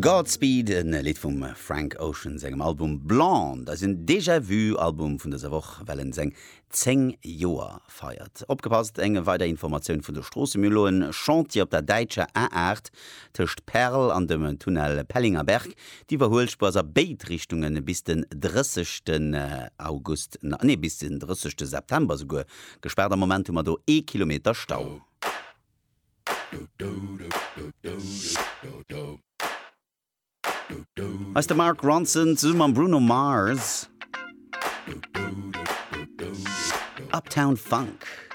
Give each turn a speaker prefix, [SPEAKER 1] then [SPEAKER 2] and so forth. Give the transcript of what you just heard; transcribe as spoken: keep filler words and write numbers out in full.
[SPEAKER 1] Godspeed, en Lidd vum Frank Ocean sengem Album Blonde, eisen Déjà-vu-Album vun dëser Woch, well en seng zéng Joer feiert. Opgepasst, eng weider Informatioun vun de Stroossen, Mir hu elo en Chantier op der däitscher A aacht tëscht Perl an dem Tunnel Pellingerberg. D'Iwwerhuelspuer ass a béid Richtunge bis den drëssegsten August, nee bis den drëssegste September esouguer gespaart. Am Moment hu mer do ee Kilometer Stau. Hei ass de Mark Ronson zesumme mam Bruno Mars, Uptown Funk.